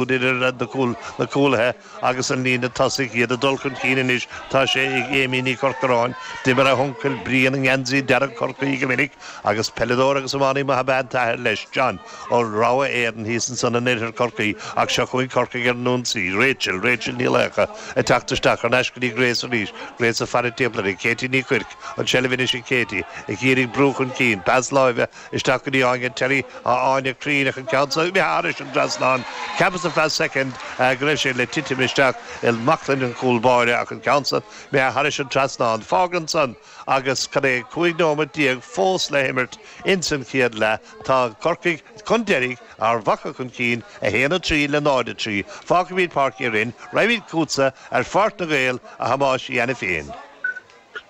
Idir na cúlaithe agus an líne tosaigh, iad ag dul chun cinn anois, tá sé ag Amy Ní Chorcoráin. D'imir a huncail Brian i ngeansaí dearg Chorcaí go minic agus peileadóir agus iománaí maith ab ea an t-athair leis, John, ó Rogha Éadan thíos ansan in oirthear Chorcaí. Ach seo chugainn Corcaigh ar an ionsaí. Rachel, Rachel Ní Laochdha, ag teacht isteach, thar n-ais go dtí Grace arís. Grace ag faire timpeall uirthi. Katie Ní Chuirc, an tseilbh anois ag Katie, ag iarraidh brú chun cinn. Pas láimhe. Isteach go dtí Áine Terry, tá Áine cruinn ach an ceann seo imithe thairis an dtrasnán. Cheapas ar feadh soicind go raibh sé le titim isteach i mbaclainn an chúl báire ach an ceann seo imithe thairis an trasnán. Fág ansan agus cad é 15 nóiméad fós le himirt ins an chéad leath. Tá Corcaigh chun deiridh, Ard Mhacha chun cinn, 1-3 le 0-3. Fágfaimid Páirc Uí Rinn, raghaimid chugatsa ar Pháirc na nGael, a Thomáis Uí Ainiféin.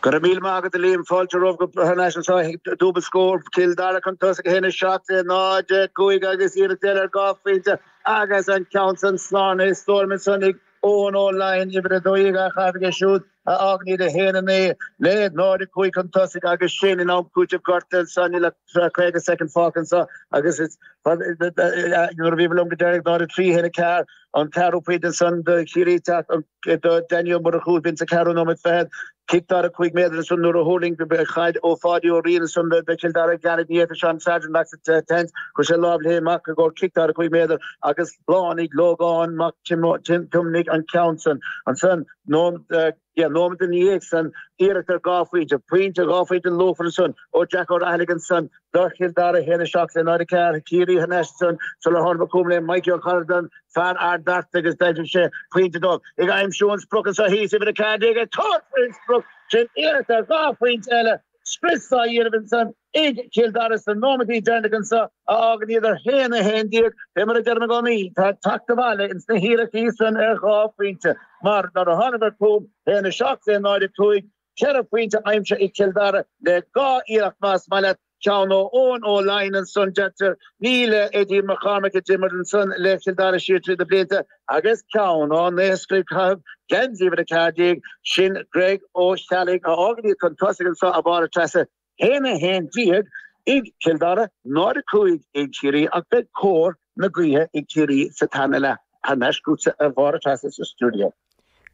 Go raibh míle maith agat a Liam, fáilte romhat thar n-ais anseo chuig Dúbailt Scór, Cill Dara chun tosaigh 1, 7 le 0, 5 agus iarracht eile ar 2 phointe agus an ceann san slán i stoirm ansan ag Eoin Ó Laighin, uimhir 12 á chaitheamh aige siúd a fhágann iad 1, 9 le 0, 5 chun tosaigh agus sin in am cúitimh gorta ansan níl ach 50 soicind fágtha anseo agus nuair a bhí liom go deireanach 0, 3, 1, 4 an ceathrú pointe ansan do Chiarraí teacht do Danny Ó Murchú bhí sa ceathrú nóiméad fichead. Cic 45 méadar ansan nuair a thuirling caid ó Pháidí Ó Riain ansan do Chill Dara Geannaid ní fhéadfadh Seán Sargent amach sa tseans. Chuir sé lámh léi amach i gcomhair cic 45 méadar agus shlánaigh Lógán Mac Tiomnaigh an ceann san. Ansan nóiméad ina dhiaidh san iarracht ar 2 phointe. Pointe, 2 phointe luachmhar ansan ó Jack Ó Raghallaigh ansan do Chill Dara 1, 7 le 0, 4. Ciarraí thar n-ais ansan sular tháinig chugam le Mikey Ó Cairealláin, fear Ard Bearta agus d'aimsigh sé pointe dóibh. Ag aimsiú an sprioc anseo thíos, uimhir 14 ag tabhairt faoin sprioc sin iarracht ar 2 phointe eile. Scrios á dhéanamh ansan ag Cill Dara sna nóiméadaí deireanacha anseo a fhágann iad ar 1, 11. Fé mar a deirim i gcónaí, tá teacht abhaile ins na hiarrachtaí san ar 2 phointe mar nuair a thánadar chugam, 1, 7 le 0, 5, 4 phointe aimsithe ag Cill Dara le 2 iarracht más maith leat. Ceann ó Eoin Ó Laighin ansan, deirtear, nia le Eddie Mac Cormaic a d'imir ansan le Cill Dara siar trí na blianta, agus ceann ó naoscaire ag caitheamh geansaí uimhir 14, sin Greg Ó Ceallaigh, a fhágann iad chun tosaigh anso a Mháire Treasa, 1, 11 ag Cill Dara, 0, 5 ag Ciarraí, ach beidh cóir na gaoithe ag Ciarraí sa tarna leath. Thar n-ais chugatsa a Mháire Treasa sa stiúideo.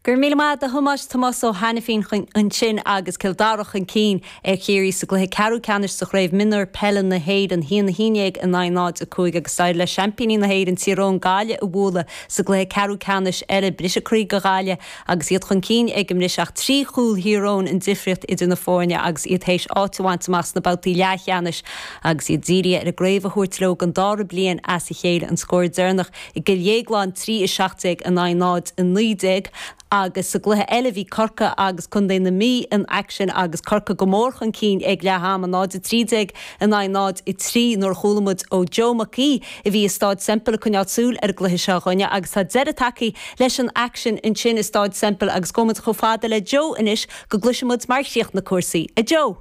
Go raibh míle maith agat a Thomáis, Tomás Ó hAiniféin ansin agus Cill Dara chun cinn ar Chiarraí sa gcluiche ceathrú ceannais sa Chraobh Mionúir Peile na hÉireann, 1-11 in aghaidh 0-5 agus d'éirigh le seaimpíní na hÉireann Tír Eoghain Gaillimh a bhualadh sa gcluiche ceathrú ceannais eile. Briseadh croí do Ghaillimh agus iad chun cinn ag an mbris ach trí chúl Thír Eoghain an difríocht idir na foirne agus iad théis áit a bhaint amach sna babhtaí leathcheannais agus iad dírithe ar an gcraobh a thabhairt leo don dara bliain as a chéile. An scór deireanach I gCill Dhéagláin, 3, 17 in aghaidh 0, 19 agus sa gcluiche eile bhí Corcaigh agus Contae na Mí in aicsean agus Corcaigh go mór chun cinn ag leath ama, 0, 13 in aghaidh 0, 3 nuair a chuala muid ó Joe Mac Aoidh a bhí i Stáid Semple ag coinneáil súil ar an gcluiche seo a dhuine agus tá deireadh tagtha leis an aicsean ansin i Stáid Semple agus gabhfaidh muid chomh fada le Joe anois go gcloisfidh muid mar chríochnaigh cúrsaí. A Joe!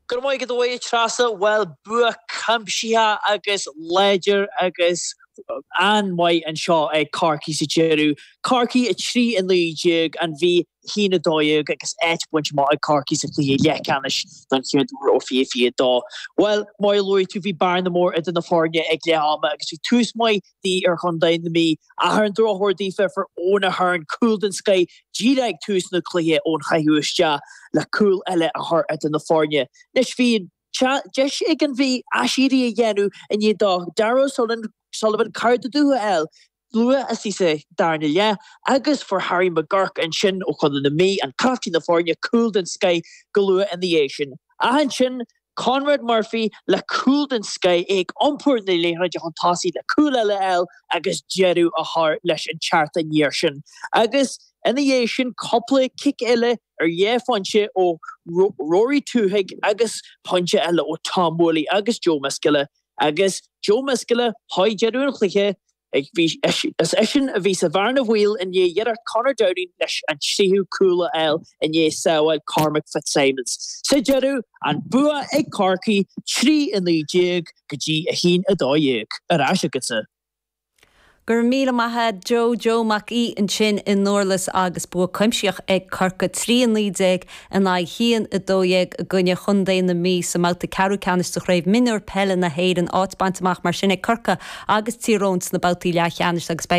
Go raibh maith agat a Treasa. Bhuel, bua cuimsitheach agus láidir agus an-mhaith anseo ag Corcaigh sa deireadh. Corcaigh 3, 19, An Mhí 1, 12 agus áit bainte amach ag Corcaigh sa chluiche leathcheannais don chéad uair ó 2022. Bhuel, mar a luaigh tú, bhí bearna mór idir na foirne ag leath ama agus bhí tús maith ar chontae na Mí. Ach ar an drochuair daofa, fuair Eoin Ahern cúl den scoith díreach ag tús na cluiche ón chaitheamh isteach le cúl eile a chur idir na foirne. Anois bhí an deis ag an Mhí aiséirí a dhéanamh i ndiaidh do Darragh Sullivan cara de dúiche a fháil luath istigh sa darna leath agus fuair Harry McGurk ansin ó chontae na Mí, an captaen na foirne, cúl den scoith go luath ina dhiaidh sin. Ach ansin Conrad Murphy le cúl den scoith, é ag iompar na liathróide chun tosaigh le cúl eile a fháil agus deireadh a chur leis an teacht aniar sin. Agus ina dhiaidh sin cúpla cic eile ar dhá phointe ó Rory Twohig agus pointe eile ó Tom Woolley agus Joe Miskella. Agus Joe Miskella, chuig deireadh an chluiche, Is eisean a bhí sa bhearna bhaoil i ndiaidh iarracht Conor Downing leis an tríú cúl a fháil i ndiaidh sábháil Cormac Fitzsimons. Sa deireadh, an bua ag Corcaigh, 3, 19 go dtí 1, 12. Ar ais agatsa. Go raibh míle maith a'd Joe, Joe Mac Aoidh ansin i nDurlas agus bua cuimsitheach ag Corcaigh, 3, 19 in aghaidh 1, 12 i gcoinne Chontae na Mí sa mbabhta ceathrú ceannais de Chraobh Mionúir Peile na hÉireann. Áit bainte amach mar sin ag Corcaigh agus Tír Eoghain sna babhtaí leathcheannais agus beidh.